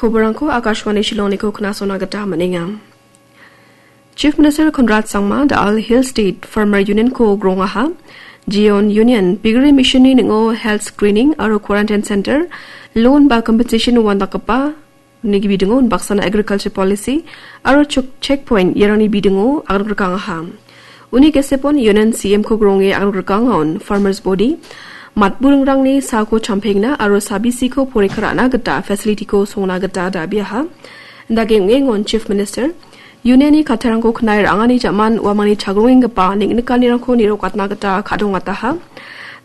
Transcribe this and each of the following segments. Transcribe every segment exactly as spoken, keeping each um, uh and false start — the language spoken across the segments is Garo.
Koborangko Akashvani Shillongniko knasona gita man·enga. Chief Minister Conrad Sangma da·al Hill State Farmer Union-ko grongaha. Jeon Union bigre mission-ni ning·o health screening aro quarantine center, loan ba compensation uandakgipa uni bidingo unbaksana agriculture policy aro chuk-, checkpoint iarangni bidingo agangrikaangaha. Uni gesepon Union C M-ko gronge agangrikaangaon farmers body matburingrangni sako champengna aro sabisiko porikha ra·na gita facility-ko songna gita dabiaha. Dake ong·engon Chief Minister, Union-ni kattarangko knai ra·angani jaman uamangni chagrongenggipa neng·nikanirangko nirokatna gita ka·dongataha.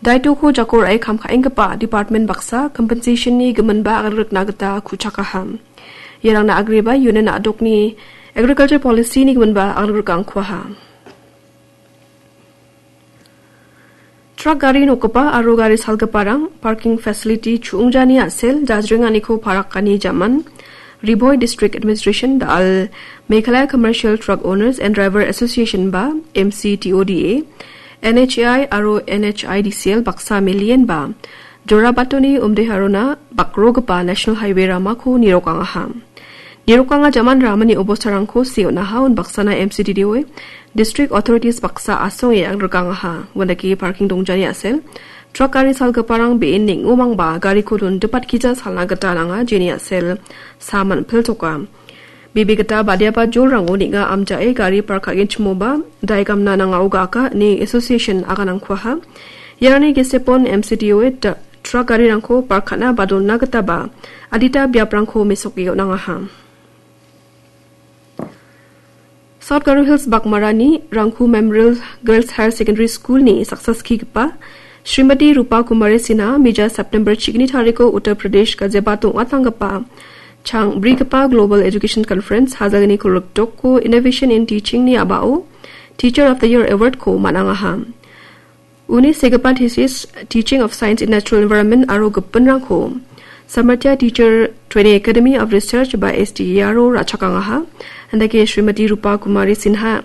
Daitoko jako ra·e kam ka·enggipa department baksa compensation-ni giminba agangrikna gita ku·chakaha. Iarangna agreba Union a·dokni agriculture policy-ni giminba agangrikaankuaha. Truck gari nokgipa aro gari salgiparang parking facility chu·ongjani a·sel jajrenganiko parakani jaman Ri Bhoi District Administration da·al Meghalaya Commercial Truck Owners and Driver Association ba M C T O D A, N H A I aro N H I D C L baksa melienba Jorabatoni Umdeharona bakrogipa National Highway ramako nirokangaha. Nirokanga jaman ramani obostarangko se on·aha unbaksana M C T D O A District Authorities baksa asonge agangrikaangaha. Uandake parking dongjani a·sel truck gari salgiparang be·en neng·omangba gariko dondipatkija salna gita nanga jeni a·sel sa man·piltoka. Bebe gita badiaba jolrango neng·a amjae gari park ka·genchimoba daigamna nangao ga·aka ine association aganangkuaha. Iarangni gesepon M C D O A da-, truck garirangko park ka·na ba donna gitaba adita biaprangko mesoke on·angaha. South Garo Hills Bakmarani Rangku Memorial Girls Higher Secondary School-ni saksa skigipa Srimati Rupa Kumari Sinha mija September chigni tariko Uttar Pradesh Ghaziabad ong·atanggipa chang brigipa Global Education Conference hajalgni kolgrikdoko Innovation in Teaching-ni a·bao Teacher of the Year Award-ko man·angaha. Uni segipa thesis, Teaching of Science in Natural Environment aro gipinrangko Samarthya Teacher Training Academy of Research ba S T E R-o ra·chakangaha. Andake Srimati Rupa Kumari Sinha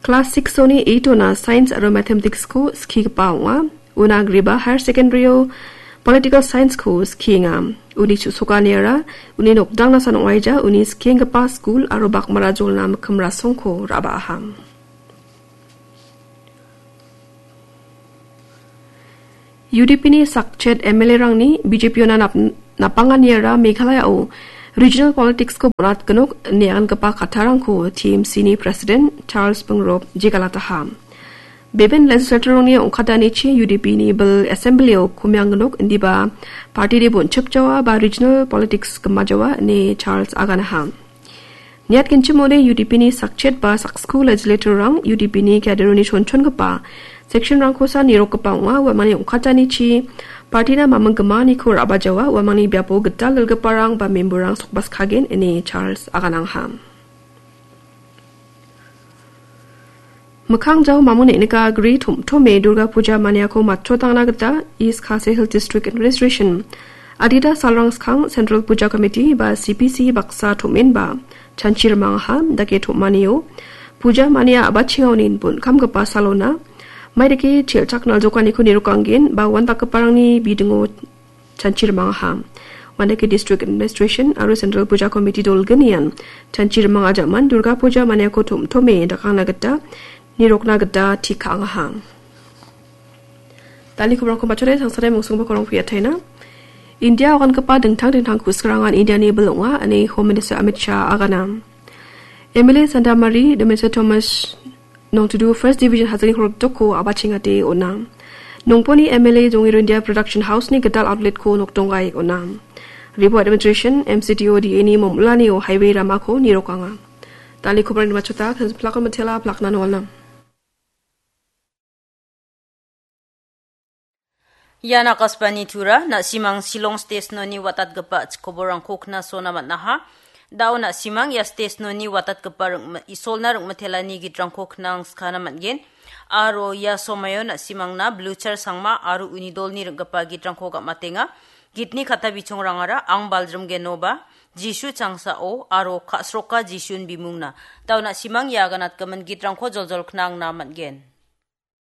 class six-oni eight-ona Science aro Mathematics-ko skigipa ong·a. Una agreba Higher Secondary-o Political Science-ko skienga. Uni chu·sokaniara uni nokdangna san ong·aija, uni skienggipa skul aro Bakmara jolna mikkim rasongko ra·baaha. U D P-ni sakchet M L A-rangni B J P-ona nap-, napanganiara Meghalaya-o regional politics-ko bonatgnok ine agangipa kattarangko T M C-ni President Charles Pyngrope jegalataha. Beben legislator-rangni ong·katanichi U D P-ni bil assembly-o komiangnok indiba party-de bonchipjawa ba regional politics gimajawa ine Charles aganaha. Niatgenchimode U D P-ni sakchet ba saksko legislator-rang U D P-ni cadre-oni chonchongipa section-rangkosa nirokgipa ong·a, uamangni ong·katanichi party-na maming gimaniko ra·bajawa, uamangni biapo gital dilgiparang ba member-rang sokbaskagen ine Charles aganangha. Mikkang jao mamon neng·nika gri tom·tome Durga Puja maniako matchotangna gita East Khasi Hills District Administration adita salrang skang Central Puja Committee ba C P C baksa tom·enba chanchi rimangaha. Dake tom·anio puja mania a·bachengaonin bon kamgipa salona maidake chelchak naljokaniko nirokanggen ba uandakgiparangni bidingo chanchi rimangaha. Uandake District Administration aro Central Puja Committee dolgnian chanchi rimang ajaman Durga Puja maniako tom·tome dakangna gita nirokna gita tik ka·angaha. Dal·e kobrangko matchode sangsade mungsongba korong piataina. India ogangipa dingtang dingtang kusgrangan Indiani bil ong·a ine Home Minister Amit Shah agana. M L A Sandamari, Demiswa Thomas, Nongtudu First Division Hajani Horok Doko abachengate ona. Nongponi M L A Jongi Rundia Production House ni gital outlet ko nokdonggai ona. Ribo Administration, M C T O D A ni momulani o highway ramako nirokanga. Dal·e kobrang matchota, kan plakon matela, plakna nolna. Ian Akashvani Tura, na·simang Shillong Station-oni watatgipa chikoborangko knasona man·aha. Da·o na·simang ia station-oni watatgipa ring-, Isolna ring·mitelani gitrangko knangskana man·gen. Aro ia somaio na·simangna Blucher Sangma aro uni dolni ring·gipa gitrangko gam·atenga. Gitni kata bichongrangara Ang Baljrim Genoba, Jisu Changsao, aro Ka·sroka Jisun Bimungna. Da·o na·simang ia aganatgimin gitrangko joljol knangna man·gen.